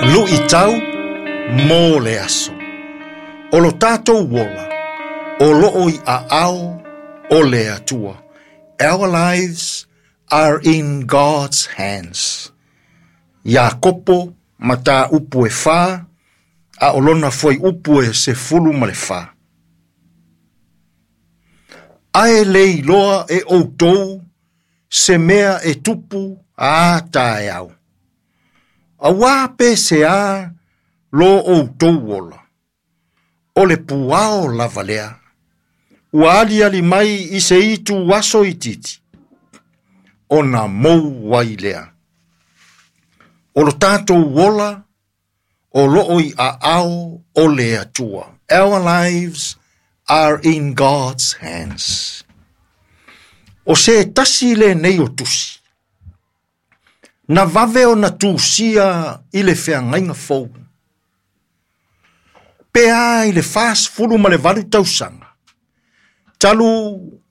Luʻitau mo le aso. O lo tatou ola, o loo i aao o le Atua. Our lives are in God's hands. Iakopo mataupu e 4, a o lona fuaiupu e 14. Ae le iloa e outou se mea e tupu a taeao. Auā pe se a lo outou ola. O le puao lava lea. Ua aliali mai i se itu aso itiiti. Ona mou ai lea. O lo tatou ola, o loo i aao o le Atua. Our lives are in God's hands. O se tasi lenei o tusi. Na vave ona tusia i le feagaiga fou. Pe a i le 48 tausaga. Talu